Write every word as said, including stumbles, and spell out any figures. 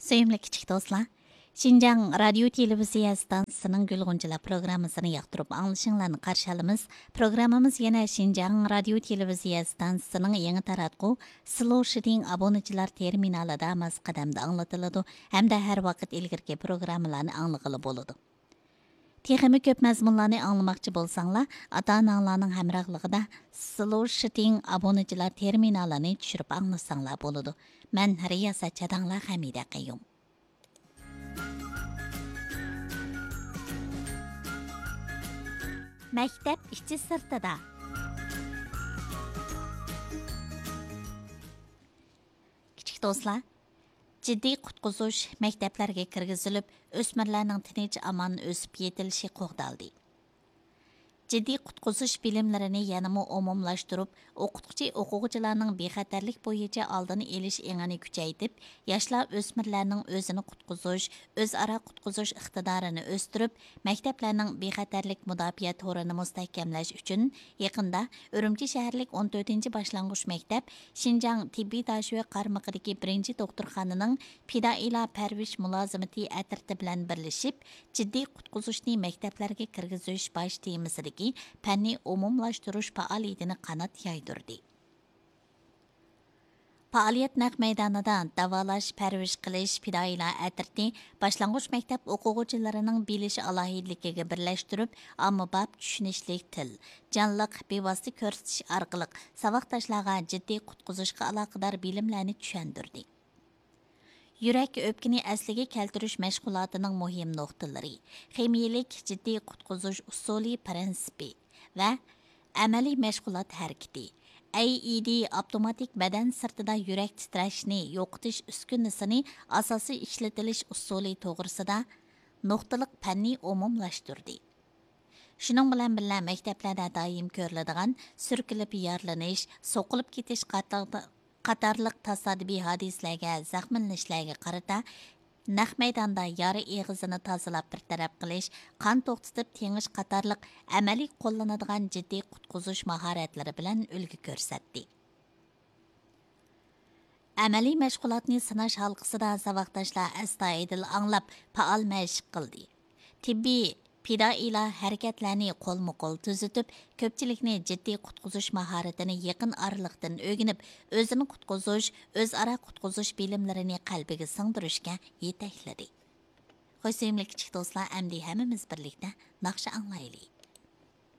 سۆيۈملۈك كىچىك دوستلار، شىنجاڭ رادىيو تېلېۋىزىيە ئىستانسىسىنىڭ گۈل غۇنچىلار پروگراممىسىنى ياقتۇرۇپ ئاڭلىشىڭلارنى قارشى ئالىمىز. پروگراممىمىز يەنە شىنجاڭ رادىيو تېلېۋىزىيە ئىستانسىسىنىڭ يېڭى تاراتقۇ سلو شىتىڭ ئابۇنىچىلار تېرمىنالىدا ماس قەدەمدە ئاڭلىتىلىدۇ ھەمدە ھەر ۋاقىت ئىلگىرىكى پروگراممىلارنى ئاڭلىغىلى بولىدۇ. تېخىمۇ كۆپ مەزمۇنلارنى ئاڭلىماقچى بولساڭلار، ئاتا-ئاناڭلارنىڭ ھەمراھلىقىدا سلو شىتىڭ ئابۇنىچىلار تېرمىنالىنى چۈشۈرۈپ ئاڭلىساڭلار بولىدۇ. مەن رىياسەتچى ئاداڭلار خەمىدە قەييۇم. مەكتەپ ئىچى سىرتىدا. كىچىك دوستلار، جىددىي قۇتقۇزۇش مەكتەپلەرگە كىرگۈزۈلۈپ، ئۆسمۈرلەرنىڭ تىنچ ئامان ئۆسۈپ يېتىلىشى قوغدالدى. جىددىي قۇتقۇزۇش بىلىملىرىنى يەنىمۇ ئومۇملاشتۇرۇپ، ئوقۇتقۇچى ئوقۇغۇچىلارنىڭ بىخەتەرلىك بويىچە ئالدىنى ئېلىش ئېڭىنى كۈچەيتىپ، ياشلار ئۆسمۈرلەرنىڭ ئۆزىنى قۇتقۇزۇش، ئۆزئارا قۇتقۇزۇش ئىقتىدارىنى ئۆستۈرۈپ، مەكتەپلەرنىڭ بىخەتەرلىك مۇداپىئە تورىنى مۇستەھكەملەش ئۈچۈن، يېقىندا ئۈرۈمچى شەھەرلىك ئون تۆتىنچى باشلانغۇچ مەكتەپ شىنجاڭ تېببىي داشۆ قارمىقىدىكى بىرىنچى دوختۇرخانىنىڭ پىدائىيلار پەرۋىش مۇلازىمىتى ئەترىتى بىلەن بىرلىشىپ، جىددىي قۇتقۇزۇشنى مەكتەپلەرگە كىرگۈزۈش باش تېمىسىدىكى پەننىي ئومۇملاشتۇرۇش پائالىيىتىنى قانات يايدۇردى. پائالىيەت نەق مەيدانىدا داۋالاش، پەرۋىش قىلىش، پىدائىيلار ئەترىتى باشلانغۇچ مەكتەپ ئوقۇغۇچىلىرىنىڭ بىلىش ئالاھىدىلىكىگە بىرلەشتۈرۈپ، ئاممىباب چۈشىنىشلىك تىل، جانلىق، بىۋاسىتە كۆرسىتىش ئارقىلىق ساۋاقداشلارغا جىددىي قۇتقۇزۇشقا ئالاقىدار بىلىملەرنى چۈشەندۈردى. يۈرەك ئۆپكىنى ئەسلىگە كەلتۈرۈش مەشغۇلاتىنىڭ مۇھىم نۇقتىلىرى، خىمىيىلىك جىددىي قۇتقۇزۇش ئۇسۇلى پىرىنسىپى ۋە ئەمەلىي مەشغۇلات ھەرىكىتى، ئەي ئى دى ئاپتوماتىك بەدەن سىرتىدا يۈرەك تىترەشنى يوقىتىش ئۈسكۈنىسىنى ئاساسىي ئىشلىتىلىش ئۇسۇلى توغرىسىدا نۇقتىلىق پەننى ئومۇملاشتۇردى. شۇنىڭ بىلەن بىللە، مەكتەپلەردە دائىم كۆرۈلىدىغان سۈركىلىپ يارىلىنىش، سوقۇلۇپ كېتىش قاتارلىق، قاتارلىق تاسادىپىي ھادىسىلەرگە، زەخىملىنىشلەرگە قارىتا نەق مەيداندا يارا ئېغىزىنى تازىلاپ بىر تەرەپ قىلىش، قان توختىتىپ تېڭىش قاتارلىق ئەمەلىي قوللىنىدىغان جىددىي قۇتقۇزۇش ماھارەتلىرى بىلەن ئۈلگە كۆرسەتتى. ئەمەلىي مەشغۇلاتنى سىناش ھالقىسىدا ساۋاقداشلار ئەستايىدىل ئاڭلاپ، پائال مەشىق قىلدى. تېببىي پىدائىيلار ھەرىكەتلەرنى قولمۇ قول تۈزۈتۈپ، كۆپچىلىكنى جىددىي قۇتقۇزۇش ماھارىتىنى يېقىن ئارىلىقتىن ئۆگىنىپ، ئۆزىنى قۇتقۇزۇش، ئۆزئارا قۇتقۇزۇش بىلىملىرىنى قەلبىگە سىڭدۈرۈشكە يېتەكلىدى. خوش سۆيۈملۈك كىچىك دوستلار، ئەمدى ھەممىمىز بىرلىكتە ناخشا ئاڭلايلى.